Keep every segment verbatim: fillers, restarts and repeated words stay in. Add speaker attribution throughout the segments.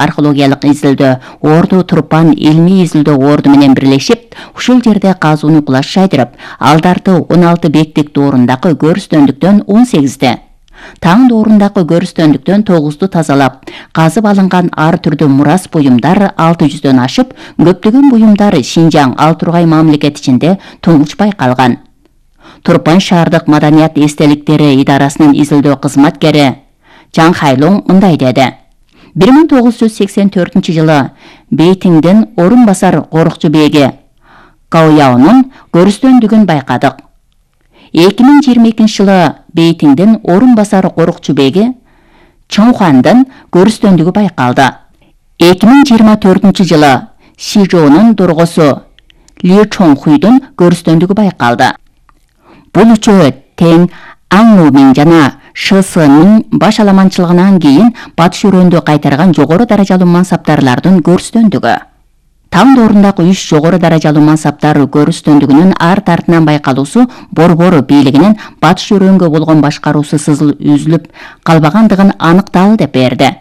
Speaker 1: археологиялык изилдөө Орду Турпан илмий изилдөө орду менен бирлешип, ушул жерде казууну кулаш жайдырып, алдарты он алты беттик доорундагы көрүстөндүктөн он сегизди, таң доорундагы көрүстөндүктөн тогузду тазалап, казып алынган ар түрдүү мурас буюмдар алты жүздөн ашып, көптөгөн буюмдар Шинжаң Алтургай мамлекети ичинде туңуч байкалган. Турпан шаардык маданият эстеликтери идарасынын изилдөө кызматкери Жан Хайлоң мындай деди. бир миң тогуз жүз сексен төртүнчү жылы Бейтиңдин орун басар корукчу беги Гаояонун көрүстөндүгүн байкадык. эки миң жыйырма экинчи жылы Бейтиңдин орун басар корукчу беги Чоңхуандын көрүстөндүгү байкалды. эки миң жыйырма төртүнчү жылы Сижоонун доргосу Ли Чоңхуйдун көрүстөндүгү байкалды. Бул үчөө тең Аңмумин жана ШСНын баш аламанчылыгынан кийин батыш өрөндү кайтарган жогору даражалуу мансаптарлардын көрүстөндүгү. Таң доорундагы үч жогору даражалуу мансаптар көрүстөндүгүнүн арт артынан байкалуусу Борбор бийлигинин батыш өрөнгө болгон башкаруусу сызыл үзүлүп калбагандыгын аныкталды деп берди.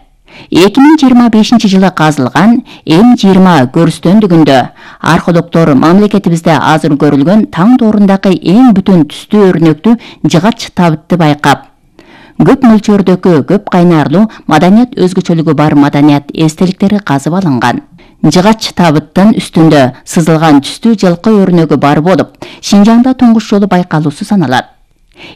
Speaker 1: эки миң жыйырма бешинчи жылы казылган М жыйырма көрүстөндүгүндө археологдор мамлекетибизде азыр көрүлгөн таң доорундагы эң бүтүн түстүү өрнөктүү жыгач табытты байкап, көп мөлчөрдөгү көп кайнарлуу маданият өзгөчөлүгү бар маданият эстеликтери казып алынган. Жыгач табыттын үстүндө сызылган түстүү жылкы өрнөгү бар болуп, Шинжаңда туңгуч жолу байкалуусу саналат.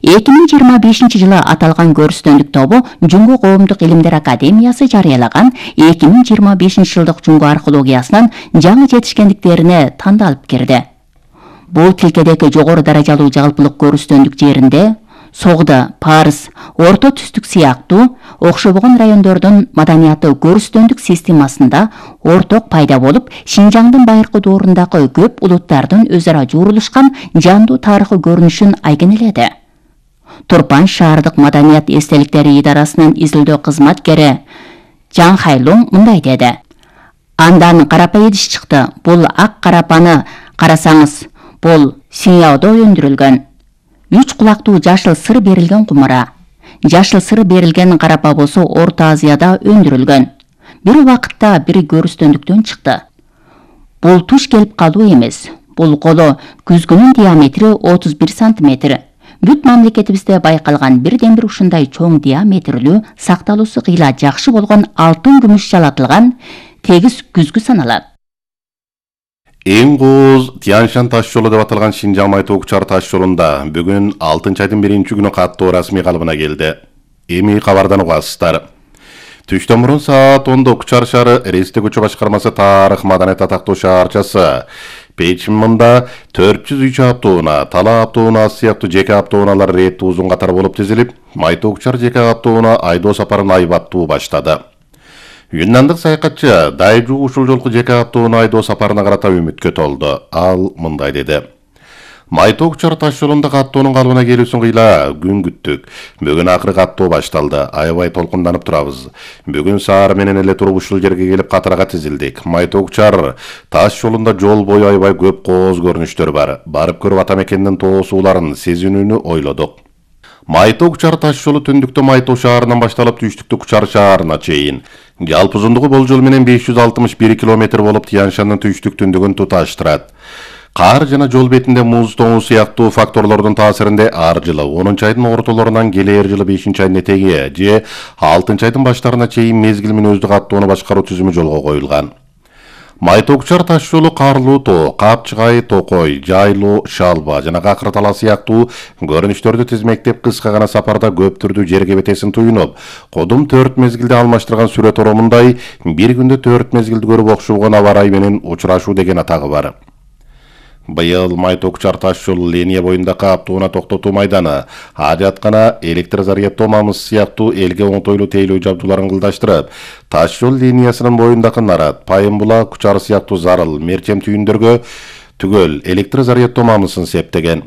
Speaker 1: эки миң жыйырма бешинчи жылы аталган көрүстөндүк тобу Жунго коомдук илимдер академиясы жарыялаган эки миң жыйырма бешинчи жылдык Жунго археологиясынын жаңы жетишкендиктерине тандалып кирди. Бул тилкедеги жогору даражалуу жалпылык көрүстөндүк жеринде Согда, Парс, Орто түстүк сыяктуу окшобогон райондордун маданияты көрүстөндүк системасында орток пайда болуп, Шинжаңдын байыркы доорундагы көп улуттардын өз ара жуурулушкан жандуу тарыхый көрүнүшүн айгинеледи. Турпан шаардык маданият эстеликтери идарасынын изилдөө кызматкери Жан Хайлоң мындай деди. Андан карапа идиш чыкты. Бул ак карапаны карасаңыз, бул Синьяодо өндүрүлгөн. Үч кулактуу жашыл сыр берилген кумара. Жашыл сыр берилген карапа болсо Орто Азияда өндүрүлгөн. Бир убакытта бир көрүстөндүктөн чыкты. Бул туш келип калуу эмес. Бул коло күзгүнүн диаметри отуз бир сантиметр. Бүт мамлекетибизде байкалган бирден бир ушундай чоң диаметрлүү, сакталуусу кыйла жакшы болгон алтын күмүш жалатылган тегиз күзгү саналат.
Speaker 2: Эң кооз Тяньшан таш жолу деп аталган Шинжаң Майтоокчар таш жолунда бүгүн алтынчы айдын биринчи күнү каттоо расмий калыбына келди. Эми кабардан угасыздар. Түштөн мурун саат ондо Кучар шаары Ресте көчө башкармасы тарых маданият атактуу шаарчасы Печиммында төрт жүз үч автоунаа, Тала автоунаа сыяктуу жеке автоунаалар реттүү узун катар болуп тизилип, Майтоокчар жеке автоунаа айдоо сапарын айбаттуу баштады. Юннандык саякатчы Дайжу ушул жолку жеке автоунаа айдоо сапарына карата үмүткө толду. Ал мындай деди. Майтоокчар таш жолунда каттоонун калыбына келүүсүн кыйла күн күттүк. Бүгүн акыры каттоо башталды. Аябай толкунданып турабыз. Бүгүн саар менен эле туруп ушул жерге келип катарга тизилдик. Майтоокчар таш жолунда жол бою аябай көп кооз көрүнүштөр бар. Барып көрүп ата мекендин тоо сууларын сезинүүнү ойлодук. Майтоокчар таш жолу түндүктө Майтоо шаарынан башталып түштүктө Кучар шаарына чейин. Жалпы узундугу болжол менен беш жүз алтымыш бир километр болуп Тяньшандын түштүк түндүгүн туташтырат. Кар жана жол бетинде муз тоңу сыяктуу факторлордун таасиринде ар жылы онунчу айдын ортолорунан келер жылы бешинчи айдын этеги же алтынчы айдын баштарына чейин мезгил менен өздүк аттоону башкаруу түзүмү жолго коюлган. Майтоокчар таш жолу Карлуу тоо, Капчыгай, Токой, Жайлуу, Шалба жана Какыр тала сыяктуу көрүнүштөрдү тизмектеп кыска гана сапарда көп түрдүү жерге бетесин туюнуп, кодум төрт мезгилде алмаштырган сүрөт оромундай бир күндө төрт мезгилди көрүп окшогон аба ырай менен учурашуу деген атагы бар. Быйыл Майтоокчар таш жолу линия боюндагы автоунаа токтотуу майданы, ажаткана, электр зарядтоо мамыз сыяктуу элге оңтойлуу тейлөө жабдууларын кылдаштырып, таш жол линиясынын боюндагы Нарат, Пайымбула, Кучар сыяктуу зарыл, мерчем түйүндөргө түгөл электр зарядтоо мамызын септеген.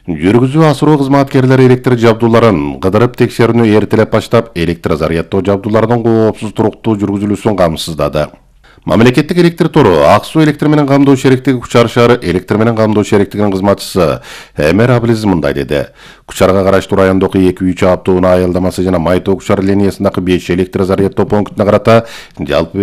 Speaker 2: Жүргүзүү асыруу кызматкерлери электр жабдууларын кыдырып текшерүүнү эртелеп баштап, электр зарядтоо жабдууларынын коопсуз туруктуу жүргүзүлүүсүн камсыздады. Мамлекеттик электр тору Ак суу электр менен камдоо шериктиги Кучар шаары электр менен камдоо шериктигинин кызматчысы Эмер Аблиз мындай деди. Кучарга караштуу райондогу эки үч автоунаа аялдамасы жана Май тоо Кучар линиясындагы беш электр заряддоо пунктуна карата жалпы